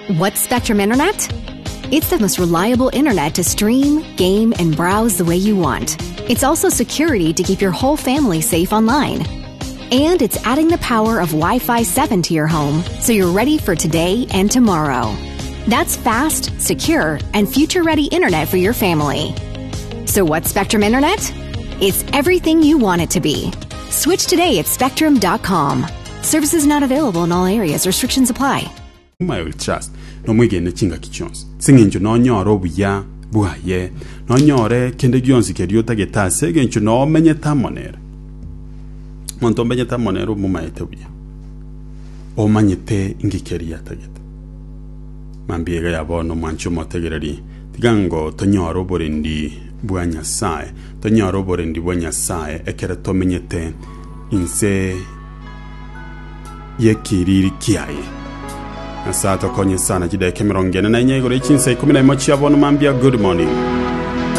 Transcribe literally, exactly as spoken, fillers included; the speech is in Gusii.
What's Spectrum Internet? It's the most reliable internet to stream, game, and browse the way you want. It's also security to keep your whole family safe online. And it's adding the power of Wi Fi seven to your home so you're ready for today and tomorrow. That's fast, secure, and future ready internet for your family. So, what's Spectrum Internet? It's everything you want it to be. Switch today at spectrum dot com. Services not available in all areas. Restrictions apply. I will trust nomwegene chingaki chionsi ase eng'encho nonyore obuya bwaye, nonyore kende gionsi keria otagete ase eng'encho nomenyete amo nere. Omonto omenyete amo nere omomaete buya, omanyete inki keria atagete. Mambia iga ya bono, omwanchi omotegereri, tiga ngo tonyore oborendi bwa Nyasaye, tonyore oborendi bwa Nyasaye ekero tomenyete inse y'ekiriri kiaye. Nyasaye atokonye sana. Chidakika emerongo ene na inya igoro echinsa ikomi na imo chia bono mambia. Good morning.